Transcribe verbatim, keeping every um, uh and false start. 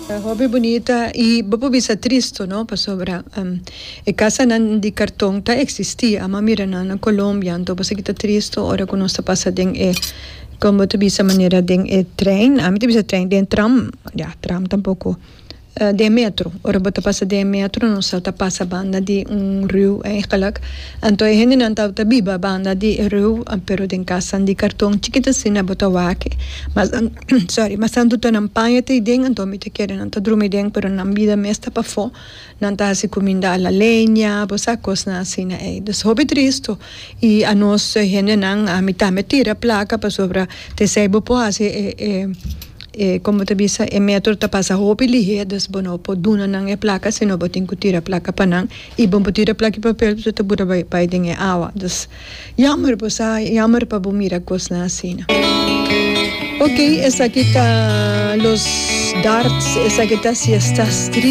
Hopi bunita y bo por bisa tristo, no? Pasobra um, e casanan di carton ta existi, m'a mira nan na Colombia, anto bo ta tristo ora cu nos ta pasa den e, con ta bisa, manera den e trein, ami ta bisa trein, den tram, ja, tram tampoco. Uh, den metro. Ora bo ta pasa den metro, nos ta pasa banda di un riu eigenlijk. Anto e hendenan ta ta biba banda di riu, pero den cas di carton chikito asina bo ta wak. Mas sorry, mas tanto ta nan paña te den, anto mi ta kere nan ta drumi den, pero nan bida mes ta pafó. Nan ta hasi cuminda a la leña, bo sa, cosnan asina ei. Dus hopi tristo. Y anos hendenan, ami tambe tira placa pasobra te sei bo por hasi e e e con ta bisa, e metro ta pasa hopi lihe, dus bo no por duna nan e placa, sino bo tin cu tira placa pa nan y bo por tira placa papel, so ta bura bay bay den e awa. Dus jammer, bo sa, jammer pa bo mira cosnan asina. Ok, esaki ta Los Darts, esaki ta "Si estás triste".